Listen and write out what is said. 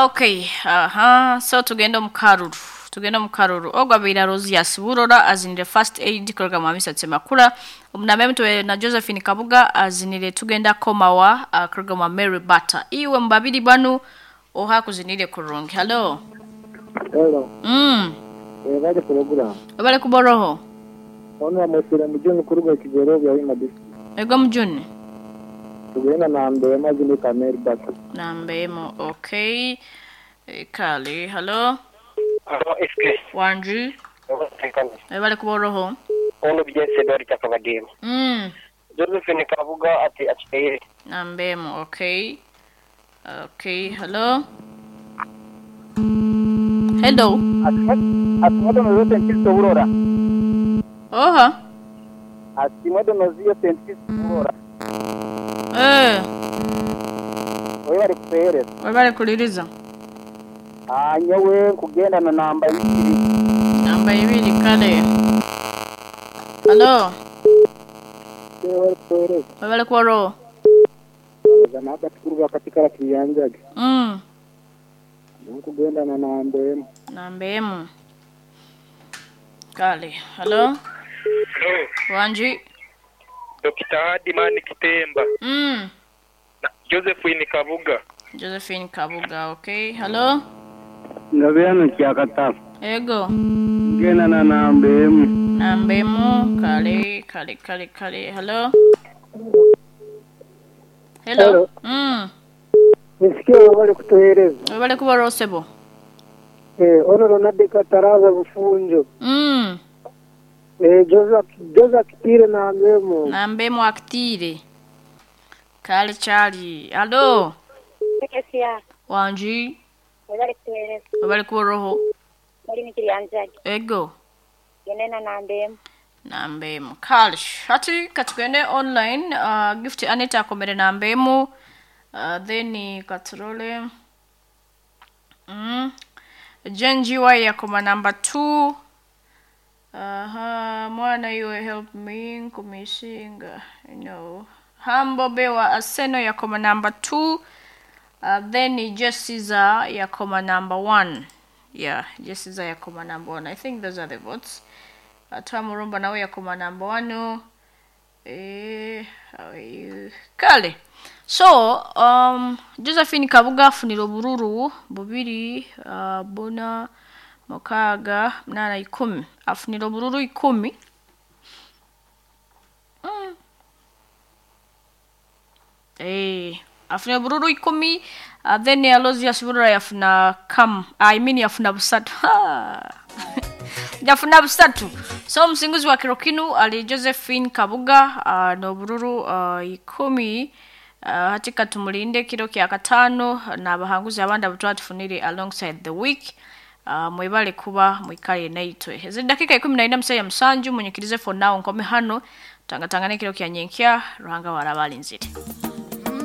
Okay, aha. So tugenda omu karuru. Tugenda omu karuru. Ogwo abaire Rosius Burora azinire first aid kuruga mu Hamisa Tsemakula. Omunamba emutwe na Josephine Kabuga azinire tugenda komawa kuruga mu Mary Bata. Iwe mu babiri banu oha kuzinire kurungi. Hello. Hello. Webale pulogulaamu. Webale kuboroho. Ono bamwesire Mujuni kuruga Kigorobya Hoima district. Ego Mujuni. Tugenda namba emu azine ka Mary Bata. Namba emu okay. E, Kale, hello. Halo SK. Wanji. Webale kuboroho. Ono Bijense Edward Kyakabadema. Josephine Kabuga ati akiteire. Namba emu okay. Okay, hello. Hello. Ati mwedonoziyo St. Kristo Burora. Oha. Ati mwedonoziyo St. Kristo Burora. Eh, Webale kutuhereza. webale kuliriza. Nyowe nkugenda na namba ibiri. Namba ibiri kale. Hello. Webale kutuhereza. Webale kuboroho. Nabati kuruga katika Kiyanjage. Nkugenda na namba emu. Namba emu. Kale. Hello. Hello. Wanji. Dr. Hadimani Kitemba. Na Josephine Kabuga. Josephine Kabuga, okay. Hello. Ngabyano kyakatafu. Ego. Ngenda na namba emu. Namba emu. Kale, kale, kale, kale. Hello. Hello. Hello. Nisikie webale kutuhereza. Webale kuboroho sebo. Ono Ronald Kataraza Bufunjo. Joseph Kitire namba emu. Namba emu akitire. Kale chali. Hello. Kesia, Wanji. webale kutuhereza. Webale kuboroho. Bali ni Kiyanjage. Ego. Genena namba emu. Namba emu. Kale. Hati katugende online. Gift Anita akomere namba emu. Then katurole. Jen GY yakoma number 2. Aha, mwana you help me nkumisinga. No. Humble Bewa Aseno yakoma number 2. Then Jessica yakoma number 1. Yeah, Jessica yakoma number 1. I think those are the votes. Atamurumba nawe yakoma number 1. How are you? Kale. So, Josephine Kabuga afunira obururu bubiri, buna, mukaaga, munana, ikumi. Afunira obururu 10. Afunira obururu 10, then Aloysius Burora yafuna kam. I mean yafuna busatu. Yafuna busatu. So omusinguzi wa kiro kinu ali Josephine Kabuga n'obururu 10. Hati katumulinde kiro kya katano n'abahanguzi abandi abutwatufunire alongside the week. Mwebale kuba mwikale naitwe. Ezi dakika 14 musaya musanju munyikirize for now nkome hano tangatangane kiro kya nyenkya Ruhanga warabalinzire.